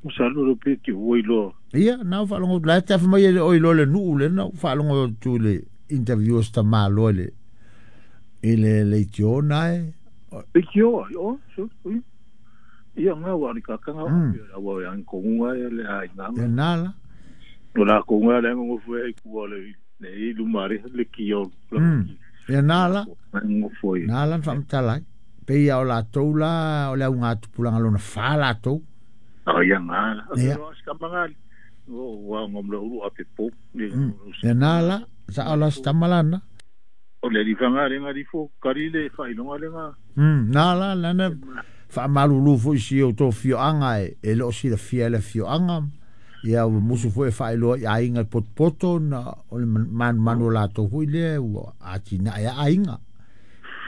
Masalo lo pe ki ua iloa. Ia, na ou faalogo atu la e te afa mai e le o iloa le nuu lea na ou faalogo atu i le interview a si tamaloa i le i le leitio na e. Leitio ai, o, so, ui. Ia nga wa ni ka kanga o pe la wa yang ko nga le ai nga. Ia na la. No la ko nga le ngo fu e ku le le i lumare le ki o. Ia na la. Ngo fu. Na la fa mtala. Pe ia o la tou la o le au ngā tupulaga lona fa la tou. O ia nga la. Ia. O wa ngom le ulu ape po. Ia na la sa o la stamalana. O le rifanga le nga rifo kari le whailonga le nga. Na la lana whaamalulu fo isi o tō fioanga e leo si la fia le fioanga. Ia o musu fo e whailoa i ainga potpoto na o le manu la tō hui le ua atina e ainga.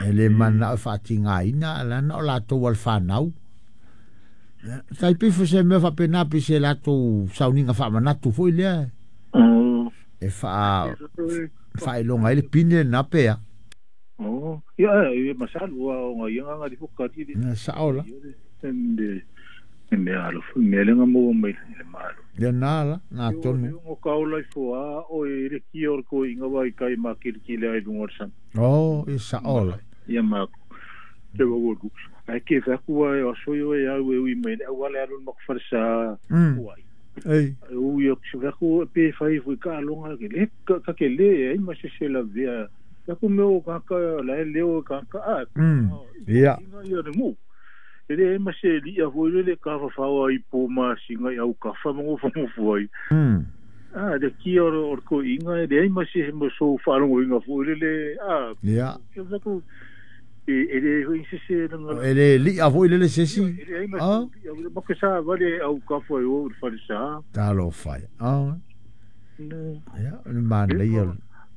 E le mana o whaatinga ina lana o la tō al whanau. Tai pifo se mea whapena pi se la tō sauninga whaamanatu fo i lea. E whailonga ele pine na pea. Oh, ia e masalu o nga ia nga rifo kari le. Na saola. Me alo me lenga mo mai le malo. Ia na la na tonu. O ka ola ifo a o e le ki o ko inga wai kai ma ki ki le ai lunga san. Oh, e saola. Ia ma te wo wo. Ai ke fa ku ai o so yo e au e ui mai le wale alu mo farsa. Uai. Ei. U yo se fa ku pe fa i ka longa ke le ka ke le ai ma se se la via. Ya ku meo ka ka la leo ka ka a. Ia. Ia le mu. E le ma se li a foi le ka fa fa i po ma singa au ka fa mo fa mo foi. A le ki o ko inga e le ma se mo so fa lo inga foi le a. Ia. E ku e le hui se se nga. E le li a foi le se si. Ah. Ma ke sa va le au ka fa o fa sa. Ta lo fa. Ah. Ia, le man le ia.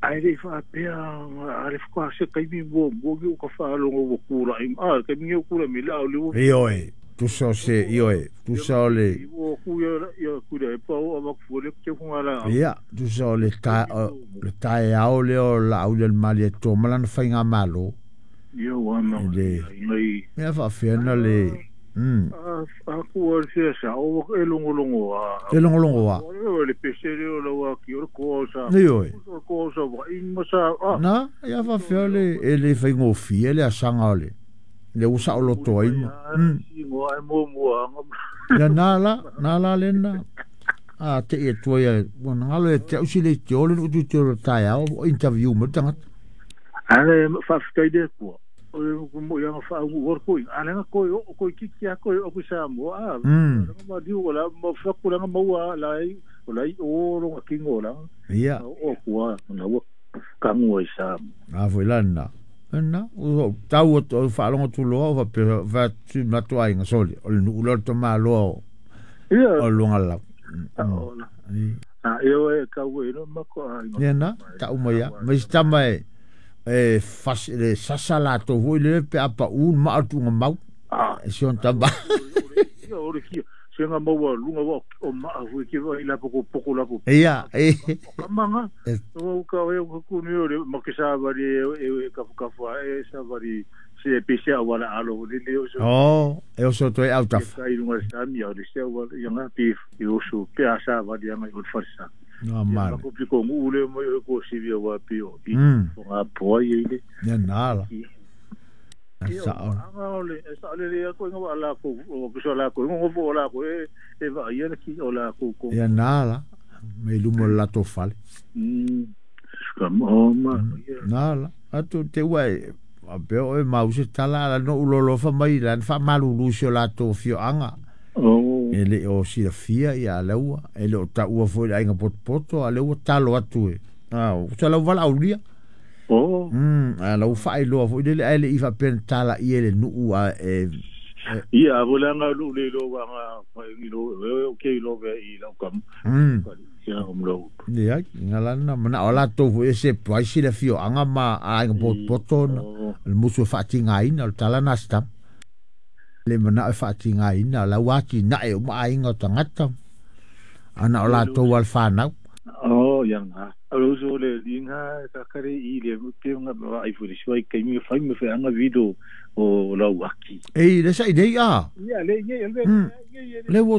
Ai le fa pea a le fa se kai mi mo mo ki ka fa lo ngo kura i a kai mi kura mi la le ioe tu so se ioe tu so le o ku ya ya ku le pa o ma ku le ke ku ala ia tu so le ta le ta e ao le o la au le mali to mala na fainga malo ia wa ma le ia fa fiana le a ku o se sa o e longo longo a e longo longo a o le pese le o la ki o ko sa ioe o ko sa wa in ma sa a na ia fa fiole e le faingo fie le asanga le le usa o loto ai ma ngo ai mo mo a ia na la le na a te e toi e ngalo e te usile te ole no tu te tai ao interview mo tanga ale fa fkai de ko o mo ia fa u or ko ale nga ko o ko ki ki ko o ku sa mo a ma di o la mo fa ku la mo wa la o la o lo ki ngo la ia o ku a na wo ka ngo sa a foi la na na o tau o fa longo tu lo va pe va tu ma tu ai soli o nu lo to ma lo ia o lo ngala a eu e ka we no ma ko ai ia na ta u mai ma sta mai e fas le sasa la to hui le pe apa un ma atu ngau e sion tamba ia o le ki se nga maua lunga wa o ma hui ki wa ila poko poko la poko ia e kamanga o ka o ku ni o ma ke sa va e ka ka fa e sa va se pe se wala alo le le o so oh e o so to e out of ka i lunga sa mi o le se wa ia nga pe e o so pe a sa va dia nga o fa sa no man ko ko ngule mo ko si via wa pe o i nga po i le ia na la sa o le sa le le ko nga la ko ko so la ko ngo fo la ko e va ia ki o la ko ko ia na la me lumo la to fale ka mo ma na la atu te wai a pe o e mau se tala la no ulolo fa mai la fa malulu se la to fio anga e le o si fia ia leua e le o ta ua foi ai potpoto a leua talo atu e a o sa lau vala aulia oh a lau fa iloa foi le ai le ifa pen tala i le nuu a e ia vola nga lu le lo wa nga i lo o ke lo ve i lau kam ia o mlo ia ngalana mana ola to foi se pai si le fio anga ma ai potpoto le musu fa tinga ina o tala na sta le mana fa tinga ina la wa ti na e ma ai ngo tangata ana ola to wal fa na oh ia nga o so le linga ka kare i le pe nga ai fu le shoi kai mi fa mi fa nga video o la waki ei le sai dei a ia le le le wo